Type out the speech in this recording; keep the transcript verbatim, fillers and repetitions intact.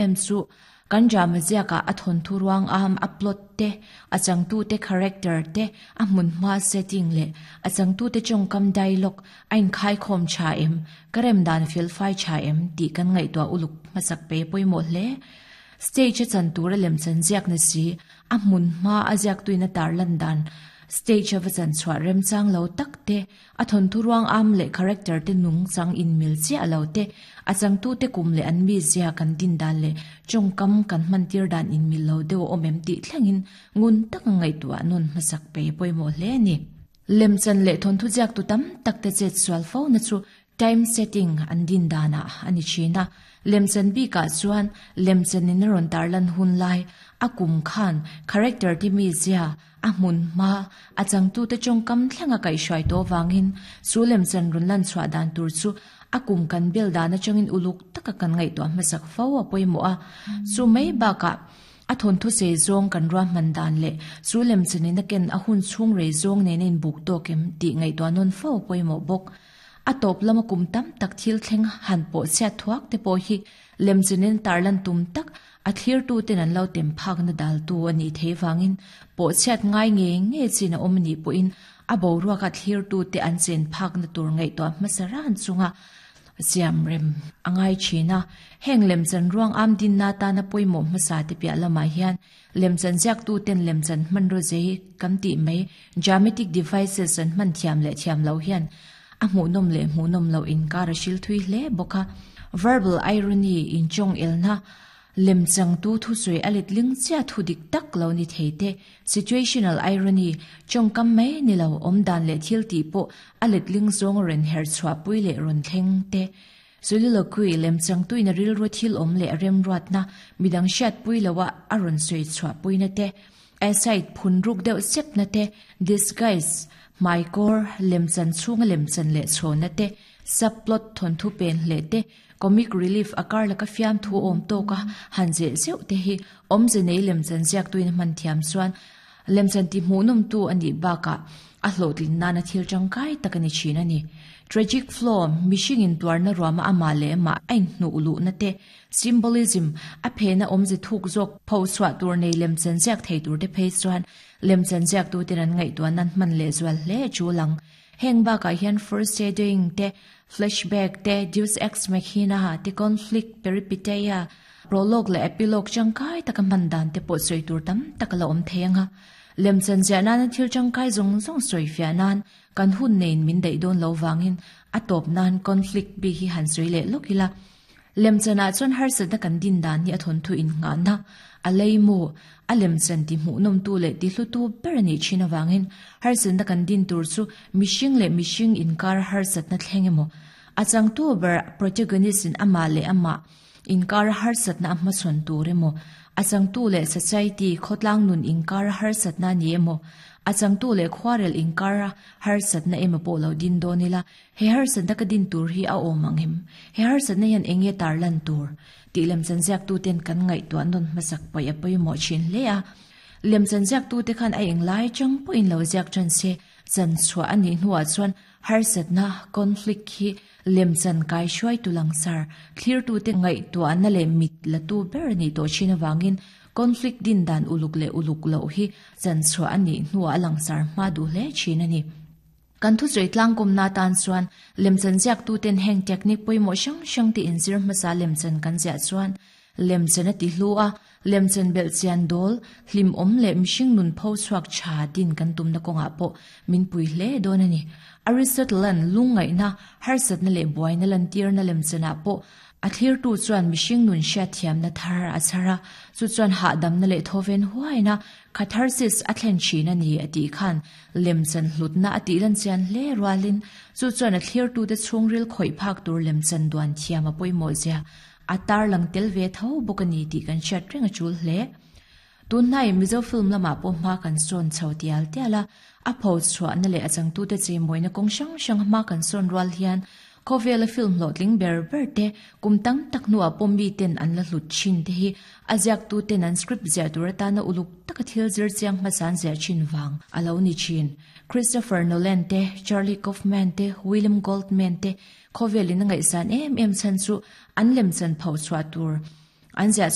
Em chu kan drama ziaka a thon thu ruang am a plot te a changtu te character te a hmun hma setting le a changtu te chongkam dialogue ain khai khom cha em karem dan fil fai cha em ti kan ngai to uluk masak pe poimo hle stage chan tura lem chan ziak na si a hmun hma a ziak tuina tar lan dan stage a chan chwa rem chang lo tak te a thon thu ruang am le character te nung chang in mil chi alo te a chang tu te kum le an mi zia kan din dan le chongkam kan man tir dan in mil lo deuh omem ti thlengin ngun tak ngai tu anun masak pe poimo hle ni lem chan le thon thu ziak tu tam tak te chet swal fo na chu time setting an din dana ani china lemchan bi ka chuan lemchan in ron tarlan hun lai akum khan character ti mi zia a mun ma a changtu te chongkam thlenga kai shwai to wangin chu lemchan run lan chwa dan tur chu akum kan bel dana changin uluk taka kan ngai to masak fo a poimo a chu mai ba ka a thon thu se zong kan ro man dan le chu lemchan in ken a hun chung re zong ne nen buk to kem ti ngai to non fo poimo bok a top lama kum tam tak thil thleng han po sia thuak te po hi lemchinin tarlan tum tak a thlir tu ten an lo tem phak na dal tu ani theiwangin po chiat ngai nge nge china omni po in a bo ruaka thlir tu te an chen phak na tur ngai to masaran chunga siam rem angai china heng lemchan ruang am din na ta na poimo masa te pia lama hian lemchan jak tu ten lemchan man ro je kam ti mai dramatic devices an man thiam le thiam lo hian a mu nom le mu nom lo in kar shil thui hle boka verbal irony in chong elna lemchang tu thu sui alit ling cha thu dik tak lo ni theite situational irony chong kam mai ni lo om dan le thil ti po alit ling zong ren her chwa pui le ron thleng te soliloquy lemchang tu in ril ro thil om le rem ruat na midang shat pui lawa aron sui chwa pui na te aside phun ruk deuh sep na te disguise my core lemchan chung lemchan le chona te subplot thon thu pen le te comic relief akar laka fiam thu om to ka hanje zeu te hi om je nei lemchan ziak tuin man thiam chuan lemchan ti hmunum tu ani baka a hlotlin nana thil tangkai takani china ni tragic flaw mishing in tuarna ruama ama le ma ain nu ulu na te symbolism a phena omje thuk jok pho chwa tur nei lemchan ziak thei tur te phei chuan lemchan ziak tu ten an ngai tuan nan man le zual hle chu lang heng ba ka hian first shading te flashback te deus ex machina te conflict peripeteia prologue le epilogue changkai taka man dan te po soi tur tam takala om thenga lemchan zia nan thil changkai zong zong soi fia nan kan hun nein min dei don lo wangin atop nan conflict bi hi han soi le lokila lemchana chon har sa da kan din dan ni athon thu in nga na aleimu alemchan ti mu nom tu le ti hlu tu berani china wangin har san da kan din tur chu mishing le mishing in kar har sat na thlengemo achang tu ber protagonist in ama le ama in kar har sat na amma chon turemo achang tu le society khotlang nun in kar har sat na ni emo achang tu le khwarel in kar har sat na emo po lo din donila he har sat na ka din tur hi a omangim he har sat na yan enge tarlan tur ti lemchan ziak tu ten kan ngai tuan non masak pai a poi mo chin le a lemchan ziak tu te khan a eng lai chang po in lo ziak chan se chan chwa ani hnuwa chuan har sat na conflict hi lemchan kai shuai tu langsar clear tu te ngai tu an le mit la tu ber ni to china wangin conflict din dan uluk le uluk lo hi chan chwa ani hnuwa langsar ma du le china ni kan thu zui tlang kum na tan chuan lemchan ziak tu ten heng technique poimo shang shang ti inzir masa lemchan kan zia chuan lemchan a ti hlua lemchan bel chian dol hlim om le mishing nun pho chuak cha din kan tum na konga po min pui hle don ani Aristotle an lungai na harsat na le boy na lan tir na lemchana po a thlir tu chuan mishing nun sha thiam na thar a chara chu chuan ha dam na le thoven huaina catharsis a thlen china ni ati khan lemchan hlutna ati lan chian hle rualin chu chuan a thlir tu te chungril khoi phak tur lemchan duan thiam a poimo zia atar lang tel ve tho bokani ti kan chat renga chul hle tunai Mizo film lama po ma kan son chhotial tiala a pho chwa na le achang tu te che moina kong sang sang ma kan son rual hian Kovela film lotling ber ber te kumtang tak nu apom mi ten an la hlut chin te hi aziak tu ten an script zia turata na uluk taka thil zir chiang masan zia chin wang alo ni chin Christopher Nolan te Charlie Kaufman te William Goldman te Kovelin ngai san em em chan chu an lem chan phau chwa tur An ziah